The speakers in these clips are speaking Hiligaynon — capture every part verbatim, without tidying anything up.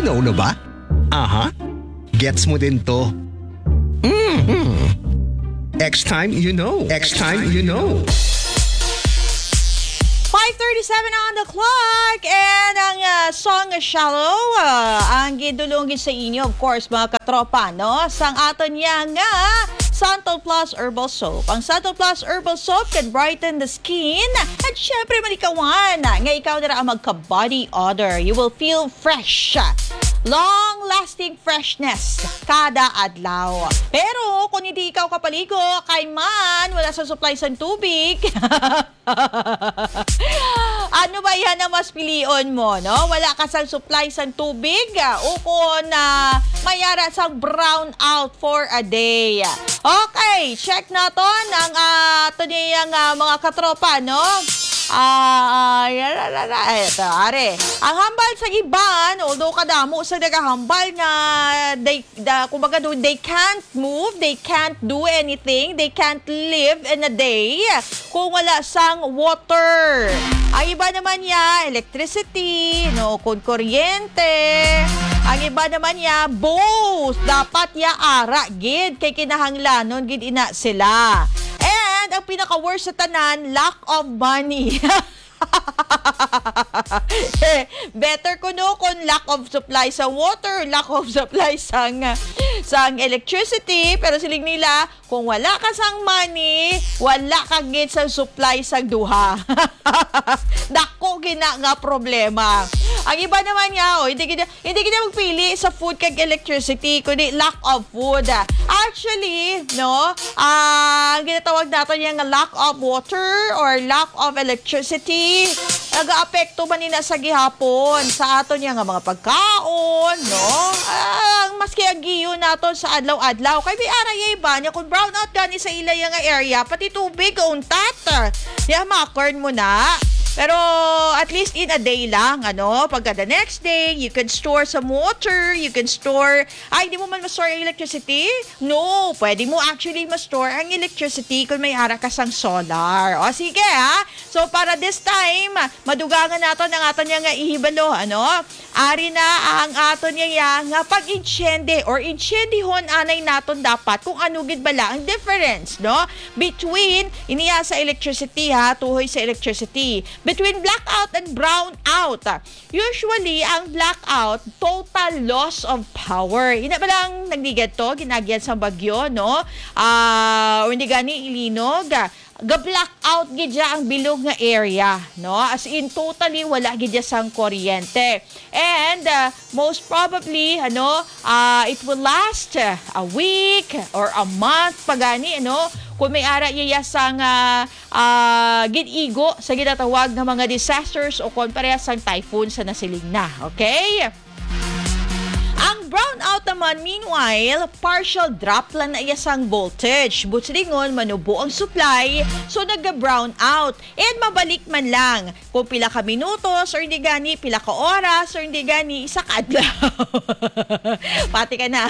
Solo ba? Aha. Gets mo din to. Mhm. X time, you know. X time, you know. Five thirty-seven on the clock, and ang ah, song Shallow, ah, ang gidulong sa inyo, of course, mga katropa, no? Sang aton niya nga Santal Plus Herbal Soap. Ang Santal Plus Herbal Soap can brighten the skin, at syempre, malikawan nga ikaw na ang magka-body odor. You will feel fresh. Long-lasting freshness kada adlaw. Pero kung hindi ikaw kapaligo, kay man, wala sa supply sang tubig. Ano ba yan ang mas pilion mo, no? Wala ka sang supply sang tubig, ah, o kung ah, may ara sang brown out for a day. Okay, check naton ang ah, ato niyang ah, mga katropa, no? Ah, ah, yara, ra, ra, eto, are. Ang hambal sa iban, although kadamo sa nagahambal nga they, the, kumbaga do, they can't move, they can't do anything, they can't live in a day kung wala sang water. Ang iba naman niya, electricity, no, kung kuryente. Ang iba naman niya, both. Dapat ya ara gid kay kinahanglanon gid ina sila. And ang pinaka-worst sa tanan, lack of money. Eh, better kuno kung lack of supply sa water, lack of supply sang sang electricity, pero siling nila, kung wala ka sang money, wala ka gid sa supply sang duha. Dako gina nga problema. Ang iba naman nga, oh, hindi gid hindi gid magpili sa food kag electricity, kundi lack of food. Actually, no, ah, ang ginatawag naton niya nga lack of water or lack of electricity, nagaapekto man ni na sa gihapon sa aton niya nga mga pagkaon, no? Ah, maski ang giyo naton sa adlaw-adlaw, kay may ara ya iba niya kung brown out gani sa ila ya nga area, pati tubig untat. Ya, makern mo na. Pero at least in a day lang, ano? Pagka the next day, you can store some water, you can store, ay, hindi mo man ma-store ang electricity? No, pwede mo actually ma-store ang electricity kung may ara ka sang solar. O sige, ha? So, para this time, madugangan naton ang aton niya nga ihibalo, ano? Ari na ang aton niya nga pag-insyende or insyendihon anay naton dapat kung ano gid bala ang difference, no? Between iniya sa electricity, ha, tuhoy sa electricity. Between blackout and brownout. Usually, ang blackout, total loss of power. Ina ba lang nagdigad to, ginagiyan sa bagyo, no? Ah, o hindi gani, ilinog. Ga-blackout gid siya ang bilog nga area, no? As in, totally wala gid siya sang kuryente. And uh, most probably, ano, uh, it will last uh, a week or a month pa gani, ano? Kung may ara iya sang uh, uh, gid-igo sa ginatawag nga mga disasters o kon parehas sang typhoon sa nasiling na, okay? Ang brownout naman, meanwhile, partial drop lang na iya sang voltage. Buot silingon, manubo ang supply, so naga-brown out. And mabalik man lang kung pila ka minutos or hindi gani, pila ka oras or hindi gani, isa ka adlaw. Pati ka na.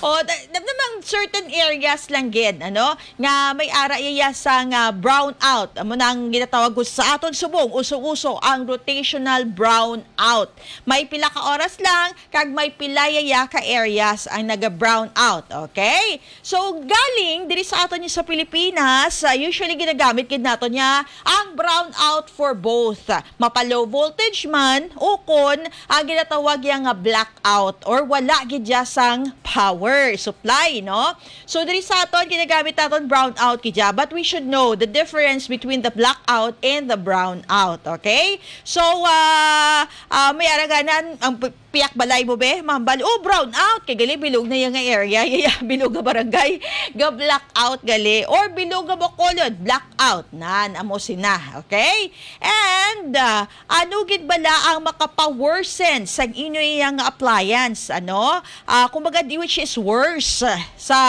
O, na, na, namang certain areas lang gid, ano, nga may ara iya sang uh, brownout. Amo nang ginatawag ko sa aton subong, uso-uso ang rotational brownout. May pila ka oras lang, kag may pila yaya ka areas ang naga-brown out, okay? So, galing diri sa aton sa Pilipinas, uh, usually ginagamit gid nato niya ang brown out for both. Mapa low voltage man o kon ang ginatawag ya nga blackout or wala gid ya sang power supply, no? So, diri sa aton, ginagamit naton brown out gid ya, but we should know the difference between the blackout and the brown out, okay? So, uh, uh, may araganan ang piyak balay mo, be, mambal, oh, brown out, kay gali bilog na yung area, yaya, bilog nga barangay, ga black out gali, or bilog nga Bacolod, black out, nan, amo sina, okay? And, uh, ano gid bala ang makapaworsen sa inyo yang appliance, ano? Uh, kumbaga, di which is worse sa,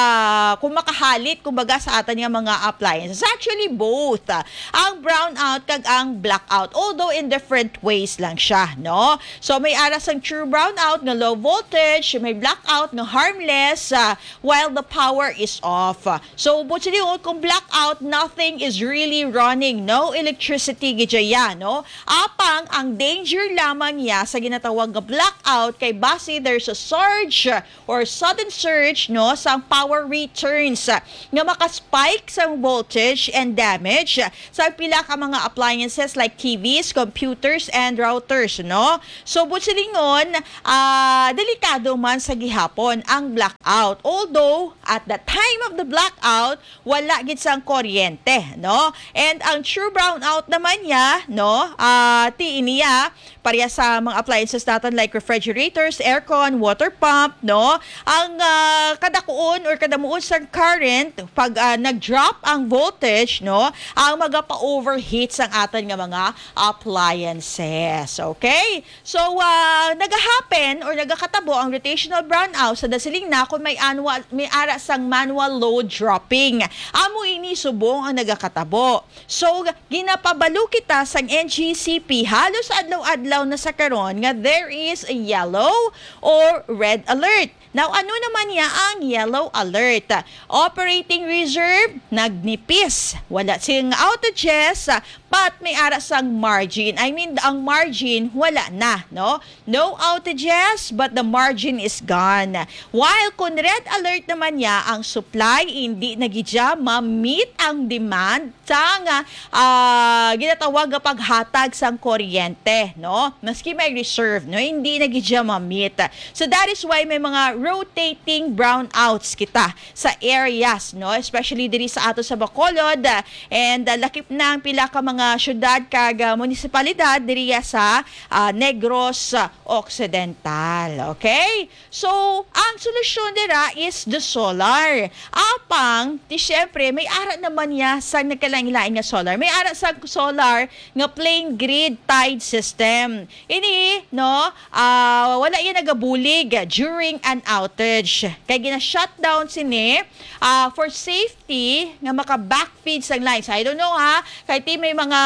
kung makahalit, kumbaga, sa atan nga mga appliances. Actually, both, uh, ang brown out kag ang black out, although in different ways lang siya, no? Oh, so may ara sang true brownout nga low voltage, may blackout nga harmless, ah, while the power is off. So, buot silingon, kung blackout, nothing is really running. No electricity gid siya, no? Apang ang danger lamang niya sa ginatawag nga blackout kay basi there's a surge or sudden surge, no, sang power returns, ah, nga maka-spike sang voltage and damage sa pila ka mga appliances like T Vs, computers, and routers, no? So, buot silingon, ah, delikado man sa gihapon ang blackout. Although, at the time of the blackout, wala gid sang kuryente, no? And ang true brownout naman niya, no? Ah, ti niya, pareha sa mga appliances naton like refrigerators, aircon, water pump, no? Ang, ah, kadakuon or kadamuon sang current, pag, ah, nag-drop ang voltage, no? Ang magapa-overheat sang aton nga mga appliances. Okay? So, ah, nagahappen or nagakatabo ang rotational brownout sa dasiling na kung may annual, may ara sang manual load dropping. Amo ini subong ang nagakatabo. So, ginapabalo kita sang N G C P halos adlaw-adlaw na sa karon nga there is a yellow or red alert. Now, ano naman niya ang yellow alert? Operating reserve, nagnipis. Wala sing outages, but may ara sang margin. I mean, ang margin, wala na, no? No outages, but the margin is gone. While kung red alert naman niya, ang supply, hindi na gid siya ma-meet ang demand sang, ah, ginatawag nga paghatag sang kuryente, no? Maski may reserve, no? Hindi na gid siya ma-meet. So that is why may mga rotating brownouts kita sa areas, no? Especially diri sa ato sa Bacolod, ah, and, ah, lakip na ang pila ka mga syudad kag, ah, munisipalidad diri sa, ah, Negros, ah, Occidental. Okay? So, ang solusyon dira is the solar. Apang, ti siyempre, may ara naman niya sa nagkalain-lain nga solar. May ara sa solar nga plain grid tied system. Ini, no, ah, wala yan nagabulig during an outage. Kay gina-shutdown sini, ah, for safety nga maka-backfeed sang lines. I don't know, ha, kay ti may mga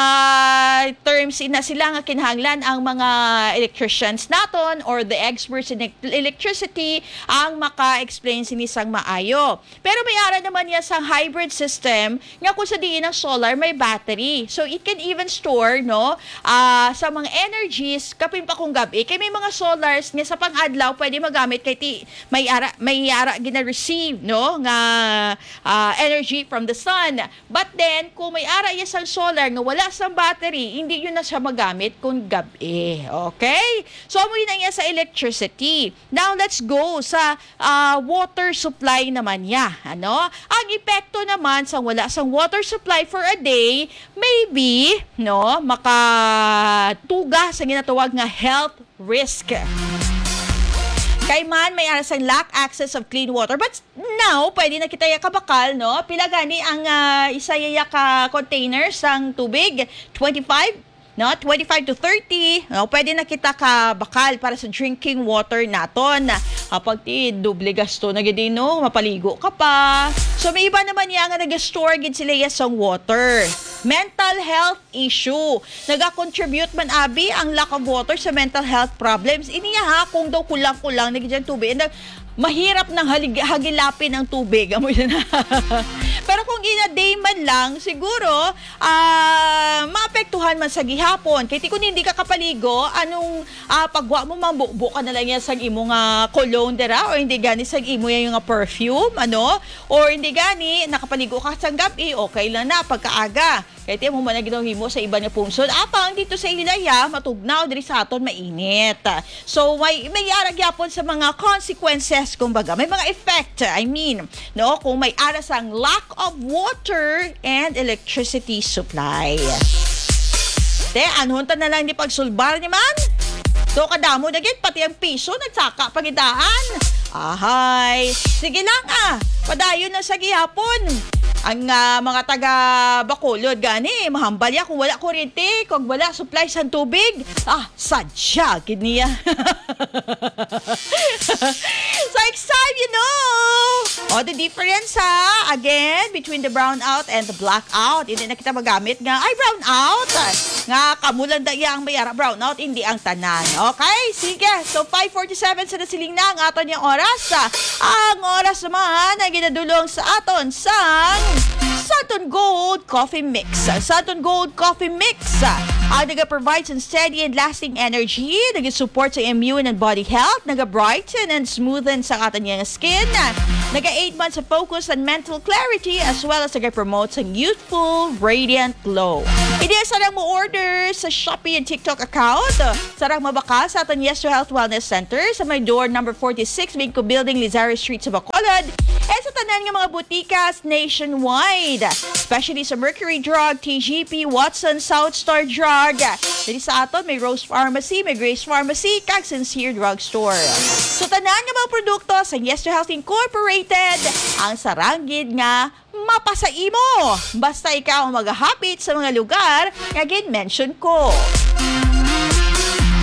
terms na sila nga kinahanglan ang mga electricians naton or the experts in ec-, electricity ang maka-explain sini sang maayo. Pero may ara naman niya sang hybrid system nga kung sa diin ang solar may battery. So it can even store, no, ah, sa mga energies kapin pa kung gab-i. Kay may mga solars nga sa pang-adlaw pwede magamit kay ti may ara, may ara gina-receive, no, nga, ah, energy from the sun. But then, kung may ara iya sang solar nga wala sang battery, hindi yun na siya magamit kung gab-i. Okay? So, amo yun ang iya sa electricity. Now, let's go sa, ah, water supply naman niya. Ano? Ang epekto naman sa wala sang water supply for a day, maybe, no, makatuga sa ginatawag nga health risk. Kay man, may ara sang lack access of clean water. But now, pwede na kita iya kabakal, no? Pila gani ang, ah, isa iya ka container sang tubig? Twenty-five? No? Twenty-five to thirty. No? Pwede na kita kabakal para sa drinking water naton. Ah, pag ti, doble gasto na gid, no? Mapaligo ka pa. So, may iba naman niya nga nag-store gid sila iya sang water. Mental health issue. Nagakontribute man abi ang lack of water sa mental health problems. Ini ha, kung daw kulang-kulang na gid ang tubig, and, uh, mahirap nang halig-, hagilapin ang tubig. Amo yun. Pero kung in a day man lang, siguro, ah, maapektuhan man sa gihapon. Kay ti kung hindi ka kapaligo, anong, ah, pagwa mo, mambubo ka na lang yan sa imo nga cologne dira, or hindi gani sa imo yan yung nga perfume, ano? Or hindi gani, nakapaligo ka sa gabi, okay lang na, pagkaaga. Kay ti amo man ang ginahimo sa iban nga pungsod. Apang dito sa Ilaya, matugnaw, diri sa aton mainit. So, may, may ara gyapon sa mga consequences, kumbaga. May mga effect, I mean, no? Kung may ara sang lack of water and electricity supply. Te, anhon ta na lang ni pagsulbar ni man? So, kadamo na gid, pati ang piso, nagsaka pa gid daan. Ahay. Sige lang, ah. Padayon na sa gihapon. Ang, ah, mga taga Bacolod gani, mahambal ya kung wala kuryente, kung wala supply sang tubig. Ah, sadya gid niya. So, it's time you know. Oh, the difference, ha? Again, between the brownout and the blackout. Hindi na kita magamit nga, ay, brownout. Nga, kamo lang da iya ang may ara brownout, hindi ang tanan. Okay? Sige. So, five forty-seven sa nasiling na ang aton yang oras. Ang oras naman ang ginadulong sa aton sang Santon Gold Coffee Mix. Ang Santon Gold Coffee Mix, ah, ang nag-provide sa steady and lasting energy, nag-support sa immune and body health, nag-brighten and smoothen sa aton yang skin, nag-aid man sa focus and mental clarity, as well as nag-promote sa youthful, radiant glow. Hindi sa lang mo order sa Shopee and TikTok account, sa rang mabakal sa aton Yes to Health Wellness Center sa may door number forty-six, Bingco Building, Lizares Street sa Bacolod, and sa tanan nga mga butikas nationwide, especially sa Mercury Drug, T G P, Watson, South Star Drug. Diri sa aton may Rose Pharmacy, may Grace Pharmacy, kag Sincere Drugstore. So, tanan nga mga produkto sa Yes to Health Incorporated, ang sarang gid nga mapa sa imo. Basta ikaw ang maghahapit sa mga lugar nga gin-mention ko.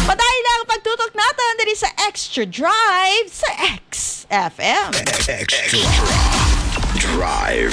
Padayon lang ang pagtutok naton diri sa Extra Drive sa X F M. Extra Drive.